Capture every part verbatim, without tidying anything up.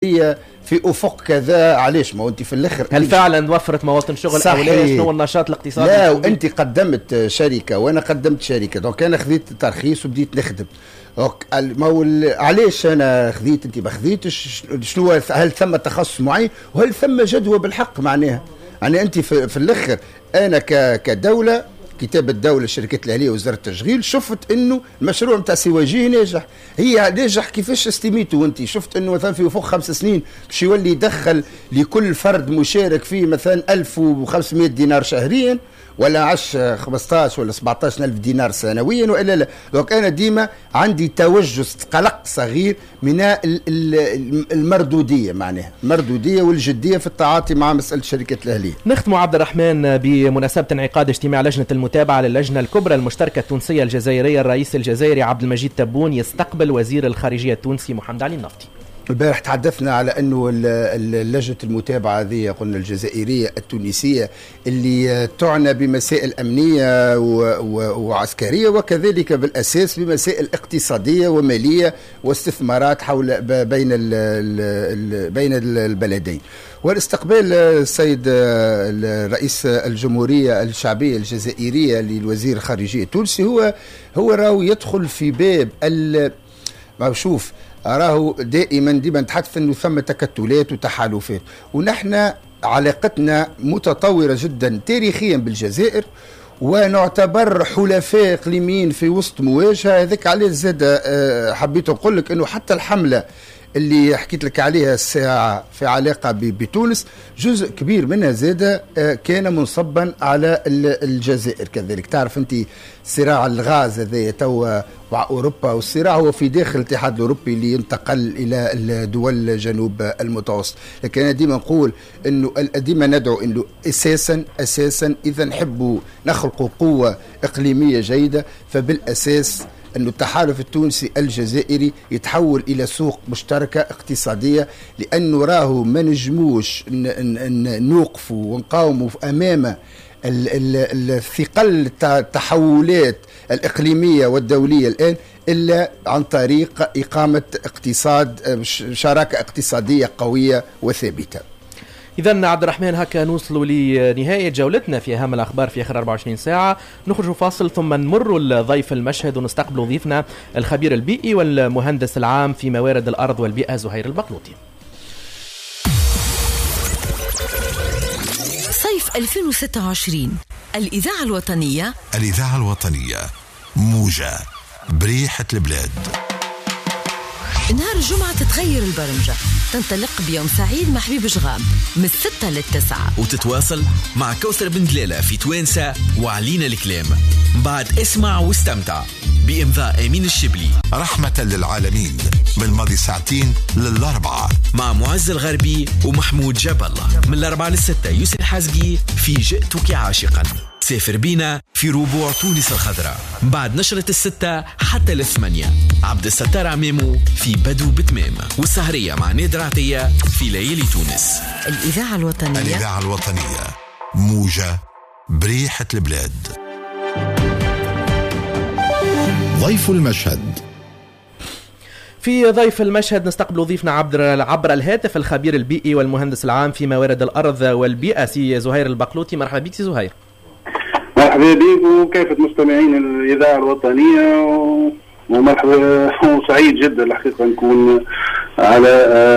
في افق كذا. علاش؟ ما انت في الاخر هل فعلا وفرت مواطن شغل او لا؟ شنو النشاط الاقتصادي؟ لا، وانت قدمت شركة وانا قدمت شركة، donc انا خذيت ترخيص وبديت نخدم. donc ما هو علاش انا خذيت انت ما خذيتش؟ شنو هل ثم تخصص معين وهل ثم جدوى بالحق؟ معناها يعني انت في, في الاخر انا كدولة، كتاب الدولة الشركات الاهلية وزارة التشغيل، شفت انه المشروع نتاع سواجيه ناجح. هي ناجح كيفاش استميته؟ وانت شفت انه مثلا في فوق خمس سنين باش يولي يدخل لكل فرد مشارك فيه مثلا ألف وخمسمائة دينار شهريا، ولا عش خمسطاش ولا سبعطاش ألف دينار سنويا والا لا. donc انا ديما عندي توجس قلق صغير من المردوديه، معناها المردوديه والجديه في التعاطي مع مسالة الشركات الاهلية. نختم عبد الرحمن بمناسبة انعقاد اجتماع لجنة المتابعة للجنة الكبرى المشتركة التونسية الجزائرية، الرئيس الجزائري عبد المجيد تبون يستقبل وزير الخارجية التونسي محمد علي النفطي. البارح تحدثنا على انه لجنة المتابعة هذه قلنا الجزائرية التونسية اللي تعنى بمسائل امنية وعسكرية، وكذلك بالاساس بمسائل اقتصادية وماليه واستثمارات حول بين بين البلدين. والاستقبال السيد رئيس الجمهورية الشعبية الجزائرية للوزير الخارجية التونسي هو هو راهو يدخل في باب ال شوف راهو دائما ديما نتحدث انه ثم تكتلات وتحالفات، ونحن علاقتنا متطورة جدا تاريخيا بالجزائر، ونعتبر حلفاء اقليميين في وسط مواجهة. هذاك علاش زاد حبيت نقول لك انه حتى الحملة اللي حكيت لك عليها الساعة في علاقة بتونس جزء كبير منها زاد كان منصبا على الجزائر كذلك. تعرف انت صراع الغاز هذا توا مع اوروبا، والصراع هو في داخل الاتحاد الاوروبي اللي ينتقل الى الدول جنوب المتوسط. لكن انا ديما نقول انه ديما ندعو انه اساسا اساسا اذا نحبوا نخلقوا قوة اقليمية جيدة، فبالاساس أن التحالف التونسي الجزائري يتحول إلى سوق مشتركة اقتصادية، لأنه راهو ما نجموش نوقفوا ونقاوموا أمام الثقل التحولات الإقليمية والدولية الآن إلا عن طريق إقامة اقتصاد شراكة اقتصادية قوية وثابتة. إذا عبد الرحمن هكا نوصلوا لنهاية جولتنا في أهم الأخبار في آخر أربعة وعشرين ساعة. نخرج فاصل ثم نمر لضيف المشهد ونستقبل ضيفنا الخبير البيئي والمهندس العام في موارد الأرض والبيئة زهير البقلوطي. صيف ألفين وستة وعشرين الإذاعة الوطنية، الإذاعة الوطنية موجة بريحة البلاد. نهار الجمعة تتغير البرمجة، تنطلق بيوم سعيد مع حبيب جغام من الستة للتسعة، وتتواصل مع كوثر بن دلالة في توانسة وعلينا الكلام. بعد اسمع واستمتع بإمضاء أمين الشبلي. رحمة للعالمين من ماضي ساعتين للأربعة مع معز الغربي ومحمود جاب الله. من الأربعة للستة يوسف الحزقي في جئتك عاشقا. سافر بينا في ربوع تونس الخضراء بعد نشرة الستة حتى الثمانية. عبد الستار عمامو في بدو بتمام، والسهرية مع نادر عطية في ليالي تونس. الإذاعة الوطنية، الإذاعة الوطنية موجة بريحة البلاد. ضيف المشهد. في ضيف المشهد نستقبل ضيفنا عبر عبر الهاتف الخبير البيئي والمهندس العام في موارد الأرض والبيئة سي زهير البقلوطي. مرحبا بك سي زهير. مرحبا بك وكافة مستمعين الإذاعة الوطنية، ومرحبا وسعيد جدا الحقيقة نكون على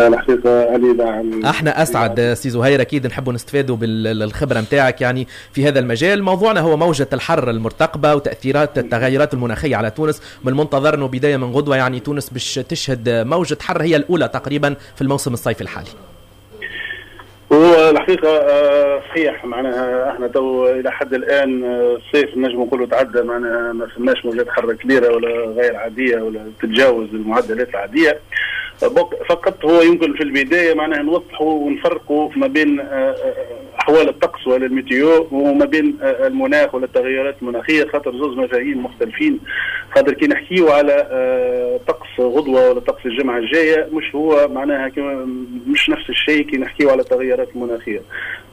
الحقيقة الإذاعة. احنا أسعد سي زهير، أكيد نحب نستفادوا بالخبرة متاعك يعني في هذا المجال. موضوعنا هو موجة الحر المرتقبة وتأثيرات التغيرات المناخية على تونس. من المنتظر أنه بداية من غدوة يعني تونس باش تشهد موجة حر هي الأولى تقريبا في الموسم الصيفي الحالي. هو الحقيقة صحيح، معناها احنا تو إلى حد الآن الصيف نجم نقولوا تعدى، معناها ما فماش موجات حر كبيرة ولا غير عادية ولا تتجاوز المعدلات العادية. فقط هو يمكن في البداية معناها نوضحوا ونفرقوا ما بين أحوال الطقس ولا ال météo وما بين المناخ ولا التغيرات المناخية، خاطر زوز مفاهيم مختلفين. خاطر كي نحكيو على طقس غدوة ولا طقس الجمعة الجاية مش هو معناها مش نفس الشيء كي نحكيو على التغيرات المناخية،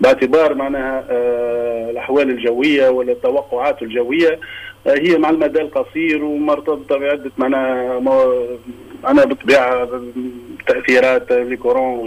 باعتبار معناها الأحوال الجوية ولا التوقعات الجوية هي مع المدى القصير ومرتبطة بعدة معناها انا بالطبيعة تاثيرات les courants.